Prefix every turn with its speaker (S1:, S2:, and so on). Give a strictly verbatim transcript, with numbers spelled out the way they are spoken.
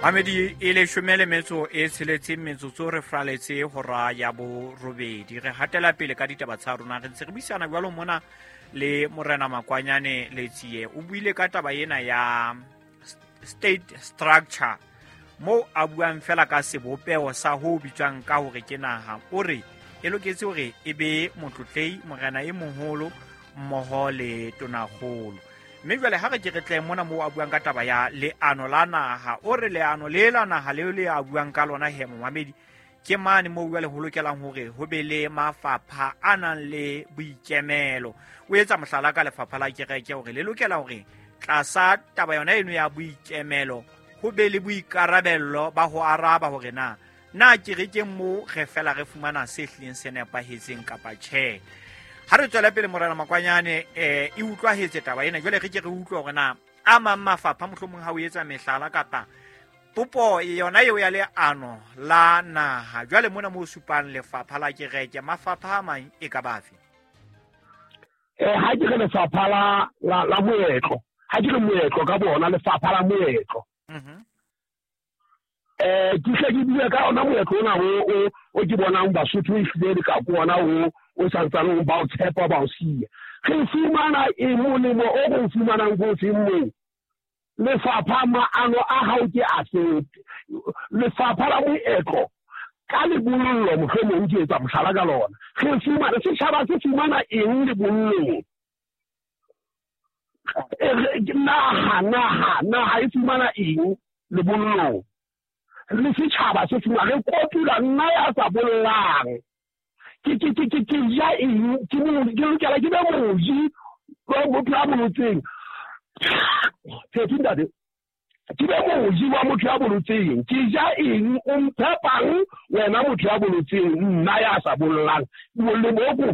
S1: Mamedi, e leshome le metso e tsheletseng metsotso re fraletse hora ya borobedi. Re hatela pele ka ditaba tsa rona, re ntse re buisana jwalo mona le Morena Makwanyane Letsie. O buile ka taba ena ya state structure, moo a buang fela ka sebopeho sa ho bitswang ka hore ke naha. O re e loketse hore e be motlotlei, morena e moholo mmoho le tonakgolo. Mme jwale ha re ke re tle mona moo a buang ka taba ya leano la naha. O re leano le la naha leo le a buang ka lona he momamedi, ke mane moo jwale ho lokelang hore ho be le mafapha a nang le boikemelo. O etsa mohlala ka lefapha la kereke hore le lokela hore tlasa taba yona eno ya boikemelo ho be le boikarabello ba ho araba hore na na kerekeng moo re fela re fumana se hlileng se nepahetseng kapa tjhe. Ha re tswela pele Morena Makwanyane, eh e utlwahetse taba ena. Jwale re ke re utlwe hore na a mang mafapha mohlomong ha o etsa mehlala kapa popo yona eo ya leano la naha, jwale mona moo supang lefapha la kereke, mafapha a mang e ka bafe?
S2: Eh ha ke re lefapha la la, la moetlo, ha ke re moetlo ka bona lefapha la moetlo.
S1: Mhm.
S2: Eh ke hle ke bue ka ona moetlo ona o o o ke bonang Basotho e hlile le ka ko ona o o santsaneng ba o tshepa ba o siya. Re fumana e molemo o re o fumanang ko feng moo? Lefapha maano a hao ke a fe? Lefapha la moetlo ka lebollo mohlomong ke etsa mohlala ka lona. Re fumana setjhaba se fumana eng lebollong? Naha, naha, naha e fumana eng lebollong? Le setjhaba se fumana, re kotula nna ya sa bollang. Ke ke ke ke ke ja eng? Ke mo ke lokela ke be moji wa motho ya bolotseng. Phethu ntate. Ke be moji wa motho ya bolotseng. Ke ja eng? O mphepang wena motho ya bolotseng, nna ya sa bollang. Molemo o ko